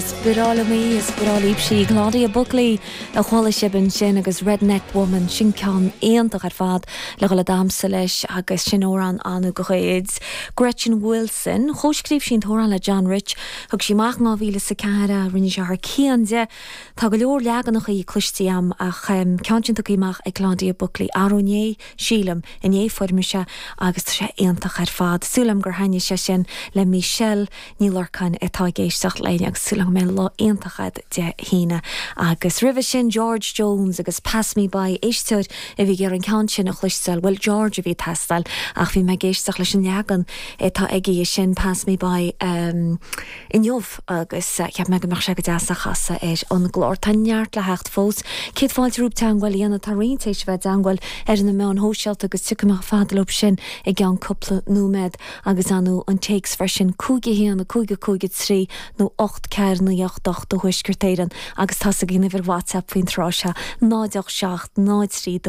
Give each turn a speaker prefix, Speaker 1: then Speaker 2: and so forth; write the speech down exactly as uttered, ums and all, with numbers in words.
Speaker 1: Is breá liom í is breá libh í Claudia Buckley a chuala sibh ansin agus Redneck Woman sin ceann iontach ar fad le dhul ag damhsa leis agus sin amhrán ann de chuid. Gretchen Wilson chomhscríobh sí an t-amhrán le John Rich thug sí amach dhá mhíle is a ceathair a rinne sé thar cionn di. Tá go leor leaganacha cloiste agam ach ceann sin tugtha amach ag Claudia Buckley arú inné sílim inné fuair mise agus tá sé iontach ar fad. Súil agam gur thaitin sé sin le Michelle Ní Lorcáin atá ag éisteacht linn agus súil agam mé lá iontach agat Dé hAoine. Agus roimhe sin George Jones agus Pass Me By éisteoir a bhí ar an ceann sin a chloisteáil, well George a bhí ag teastáil ach bhí mé ag éisteacht leis an leagan atá aige sin Pass Me By um, inniu agus uh, cheap mé go mbeadh sé go deas a chasadh ar an gclár Tá neart le theacht fós. Céad fáilte romhaibh teagmháil a dhéanamh tá roinnt éis bheith i dteagmháil ar na meáin shóisialta agus tiocfaidh mé fada leo sin i gceann cúpla nóiméad agus anú an téacs freisin cúig a haon cúig cúig trí nó ocht ceathair naoi ocht ocht do Thuaisceart Éireann agus tá againn uimhir WhatsApp faoin tráth seo náid seacht náid trí